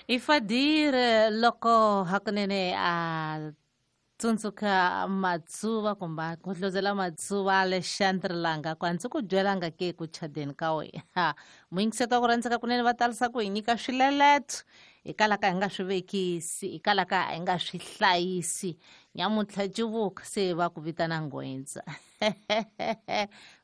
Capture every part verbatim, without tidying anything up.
Ifadir loko hakunene a tsundzuka matsuva kumbe ku hlozela matsuva Alexandre Langa ku andzi ku byelanga ke ku chadeni ka wena muyingiseti wa ku rhandzeka kunene va talisa ku hi nyika swileleto hikwalaho ka hi nga swi vekisi hikwalaho ka hi nga swi hlayisi nyamuntlha civuka se va ku vitana nghwendza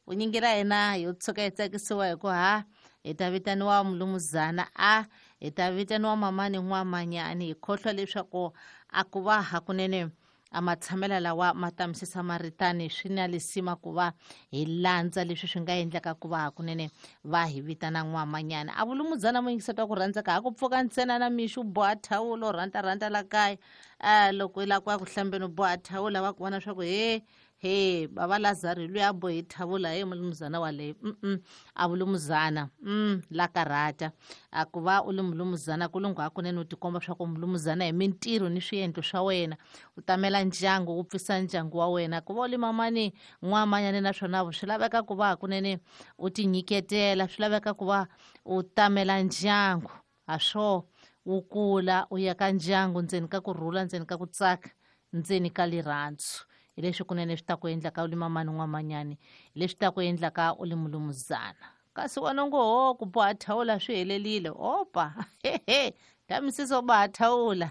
vunyingi ra hina yo tshuka hi tsakisiwa hi ku ha hi ta vitaniwa mulumuzana a hi ta vitaniwa mamani n'wamanyani hi khohlwa leswaku a ku va hakunene a matshamela lawa ma tamisisa maritani swi na lisima ku va hi landza leswi swi nga endleka ku va hakunene va hi vitana n'wamanyana a vulumudzana muyingiseti wa ku rhandzeka ha ku pfuka ntsena na mixo u boha thawula u rhandzarhandza la kaya um loko i lava ku ya ku hlambeni u boha thawula va ku vona swa ku he he baba Lazaro loyi a bohi thavula he mulumuzana waleyo mm a vulumuzana mm la karhata a ku va u li mulumuzana ku lungha hakunene u tikomba swa ku mulumuzana hi mintirho ni swiendlo swa wena u tamela ndyangu u pfisa ndyangu wa wena ku va u li mamani n'wamanyane naswona swi laveka ku va hakunene u tinyiketela swi laveka ku va u tamela ndyangu ha swo wu kula u ya ka ndyangu ndzeni ka kurhula ndzeni ka ku tsaka ndzeni ka lirhandzu hi leswi kunene swi ta ku endlaka u li mamani n'wamanyani hi leswi ta ku endlaka u li mulumuzana kasi wena ngo ho ku boha thawula swi helelile opa hehe tamisisa u boha thawula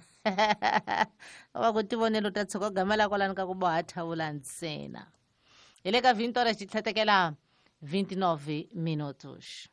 va ku tivonelo ta tshuka gamela kwalani ka ku boha thawula ntsena hi le ka vinte horas xitlhetekela vinte e nove minutos.